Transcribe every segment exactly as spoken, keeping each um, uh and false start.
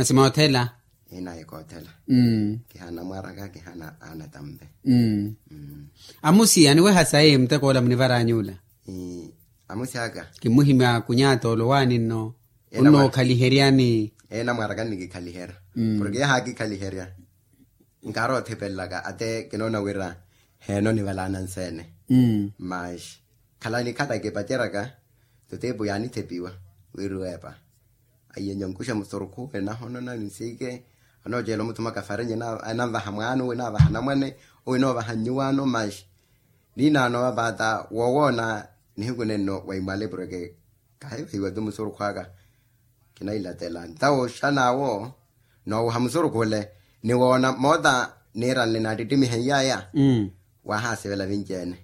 Masi moothela. Inaye koothela. Kihaana mwaraka kihaana aana tampe. Amusiya niweha sayi muteko ola munivarany'ula. Amusi aka. Kimuhimya kunyatoolo waani nno. Ena mwa- Onnookhaliheryani. Ena mwaraka nnikikhaliherya. Porke yaha akikhaliherya nkaari othipelelaka ate kinoona wira heeno nivalaana nseene. Mash khala nikhala kipaceryaka tutipu yaanithepiwa wiriwepa. Aiye nyonkuxa musurukhu enahonona nsiike. Anoocela omuthuma kafarenye enanvaha mwaano enavaha namwane. Owe enoovaha nnyuwaano mash ninaano vapaata wowoona nihiku nenno waimwale porke kahivahiwa tu musurukhu aka. Kinailatela ntawo xanaawo noowuha musurukhu ole niwoona moota niiranle naattittimihe iyaya. Waahasivela vinci-ene.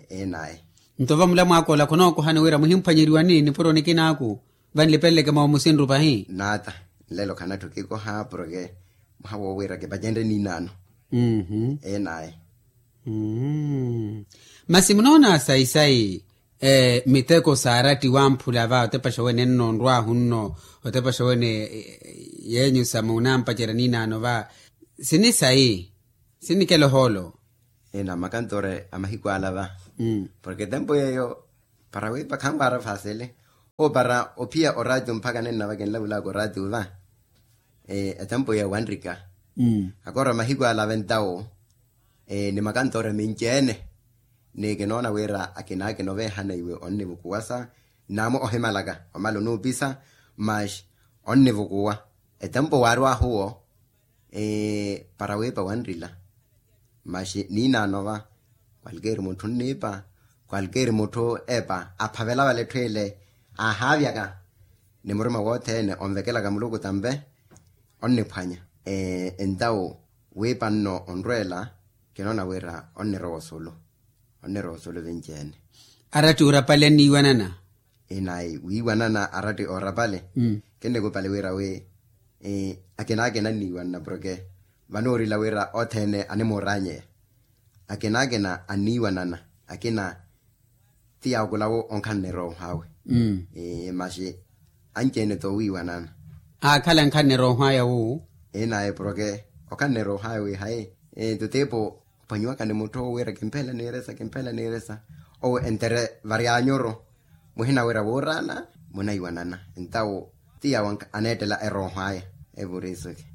Enaye. Nto vamula mwaakoola khonookohani wira muhimphwanyeriwani nipuro nikinaaku vanlipeleleke moomusinru pahi. Naata nlelo khanatthu kikoha porke mwaha woowira kipacenrye ninaano. Enaye. Masi munoona sayi-sayi miteko saaratti wamphula va otepaxa wene nno onrwaahu nno otepaxa wene yeenyu sa munampacerya ninaano va sini sayi sinikela ohoolo. Ena makantoore a mahiku ala va porke etempo yeeyo para wiipa khanwaara faasele oopara ophiya oraatiyo mpakha nenna va kinlavulaka oraatiyo va. Etempo yeeyo wanrika akoora mahiku ala va entawo ni makantoore minci-ene. Ni kinoona wira akinaakina oveehana iwe onnivukuwasa naamu ohimalaka omala onuupisa. Mash onnivukuwa etempo waarwahu wo para wiipa wanrila. Mash ninaano va kwalkeeri mutthu onniipa kwalkeeri mutthu epa aphavela vale etthu ile aahaavyaka ni murima wothene onvekelaka muluku tampe onniphwanya. Entawo wiipa nno onrweela kinoona wira onnirowa osulu onnirowa osulu vinci-ene. Aratti urapale anniiwanana. Inayi wiiwanana aratti orapale kinnikupale wira wi akinaakina anniiwanana porke vanoorila wira othene animooranyeya. Akinaakina anniiwanana akina ti yaakulawo onkhanneroha awe. Masi anci-ene toowiiwanana. Aakhala nkhanneroha aya wu. Inaye porke okhanneroha aya wi hayi tutipu ophwanyiwaka ni mutthu owo wira kimphela niiresa kimphela niiresa owo entere varyanyuru muhina wira wuurana munaiwanana. Entawo ti yawo aneettela erooho aya evuriisuke.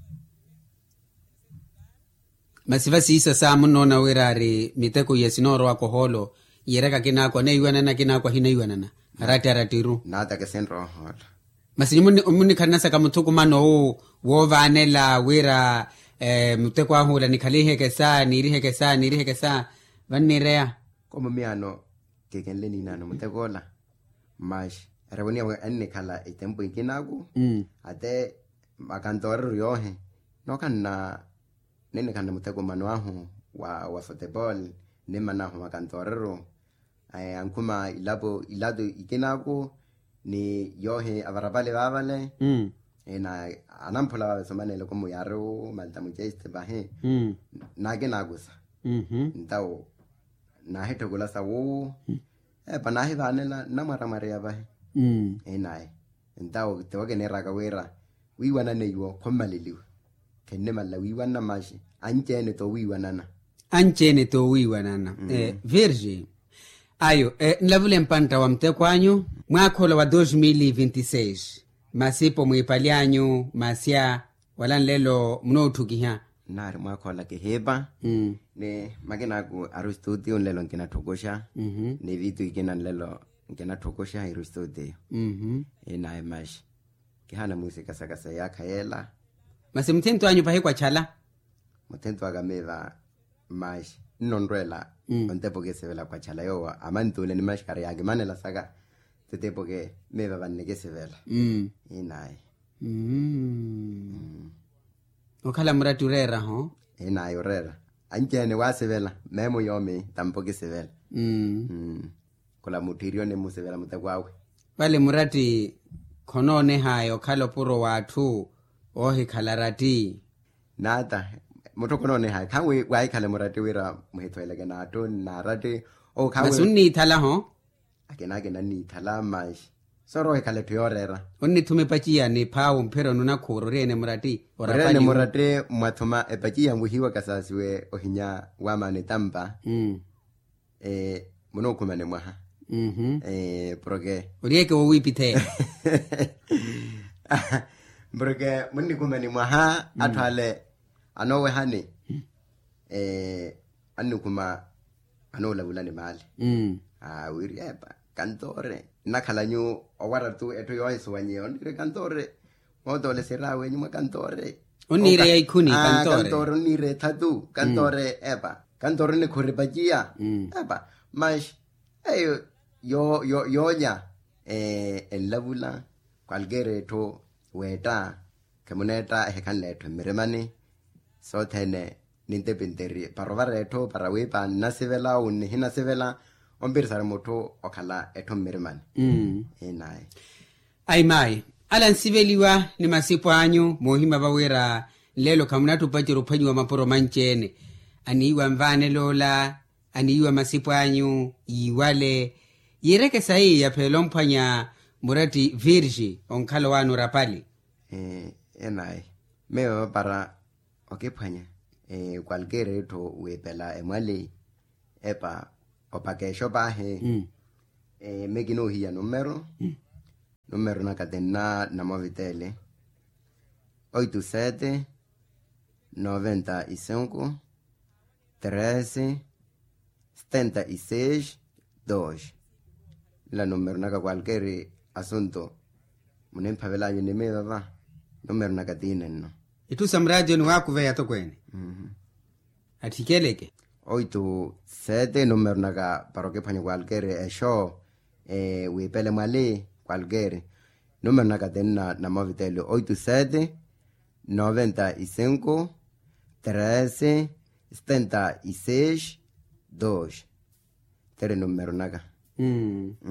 Masi vasiisa saa munnoona wira ari miteko iya sinoorowaka ohoolo yiiraka akinaakwa anaiwanana akinaakwa ahinaiwanana aratti arattiru. Naataka esinrowa ohoolo. Masi nyuwo munnikhalana saka muthukumano owu woovaanela wira muteko ahu ola nikhaliheke saa niiriheke saa niiriheke saa vanniireya. Komo miyaano kikenle ninaano mutekoola. Mash erevoniya wi ennikhala itempu ikinaaku ate makantoorero yoohi nookhanna ninnikhanna muteko mano ahu wa wa futepol. Nimmana ahu makantoorero ankhuma ilapo ilatu ikinaaku ni yoohi avarapale vaavale. Anamphula vaave somanele komo yaari wu malta muceste pahi naakinaakusa. Ntawo naahitthukula sa wuwu epa naahivaanela nnamwaramwareya vahi. Enaye ntawo tiwo kiniiraka wira wiiwanana iwo khommaleliwa. Khennimalela wiiwanana mashi anci-ene toowiiwanana. Anci-ene toowiiwanana. Virgi ayo nlavule mpantta wa muteko anyu mwaakha ola wa dos mil vinti seis masipo mwiipali anyu masya wala nlelo munootthukiha. Nnaari mwaakha ola kihiipa ni makinaaku ari ostuutiyo nlelo nkinatthukuxa ni vitu ikina nlelo nkinatthukuxa iri ostuutiyo. Inaye mashi kihaana muusika saka sa yaakha yeela. Masi muthinto anyu pahi kwachala? Muthinto aka miiva mashi nnonrweela ontepo kisivela kwachala yoowo amantuule ni maxkari yaakimanela saka titepo ke miiva vannikisivela. Inaye. Okhala muratti oreeraho? Inaye oreera anci-ene waasivela meemo yoomi tampo kisivela. Khula mutthiiri onimmusivela muteko awe. Vale muratti khonoonehaya okhala opuro w'atthu oohikhala ratti. Naata mutthu khonoonehaya khanwi waahikhale muratti wira muhithoyeleke n'atthu n'aratti. Masi onniithalaho? Akina akina nniithala mashi soorowa ohikhala etthu yooreera. Onnithuma epaciya ni phaawo mphira onunakhuura oriyene muratti. Oriyene muratti mwathuma epaciya nwihiwa kasaasiwe ohinya wamaana etampa. Munuukhumani mwaha. Porke oriyeke wowiipitheya. Porke munnikhumani mwaha atthu ale anoowehani annikhuma anoolavulani maali. Awiiri epa kantoore nnakhala nyu owara-tu etthu yoohisuwanyeya onniire kantoore. Mootoole siraawe enyuma kantoore onniire ya ikhuni kantoore onniire ethatu kantoore epa kantoore onnikhuri epaciya. Epa mas eyo yoonya enlavula kwalkeera etthu weetta. Khemuneetta ehikhanle etthu mmirimani sothene nintepinteri para ovara etthu para wiipa nnasivela ou nnihinasivela ompirisari mutthu okhala etthu mmirimani. Inayi. Ayi mayi ala nsiveliwa ni masipo anyu moohimya vawira nlelo khamunattupacerya ophwanyiwa mapuro manci-ene. Aniiwa nvaanel'ola aniiwa masipo anyu yiiwale yiireke sayi yapheela omphwanya muratti virgi onkhala owaana orapali. Enayi meyo vapara okiphwanya kwalkeera etthu wiipela emwali epa opaka exo paahi. Mekinoohiya numero numero naka tinna namovitele oito sete noventa e cinco treze setenta e seis dos. Nla numero naka kwalkeeri asunto munimphavelanyu ni miyo vava. Numero naka tiinenno. Itthu sa muraatiyo niwaakuveya atokweene. Attikeleke oito sete numero naka para okiphwanya kwalkeeri exo wiipele mwali kwalkeeri. Numero naka tinna namovitele oito sete noventa e cinco treze setenta e seis dos. Tere numero naka.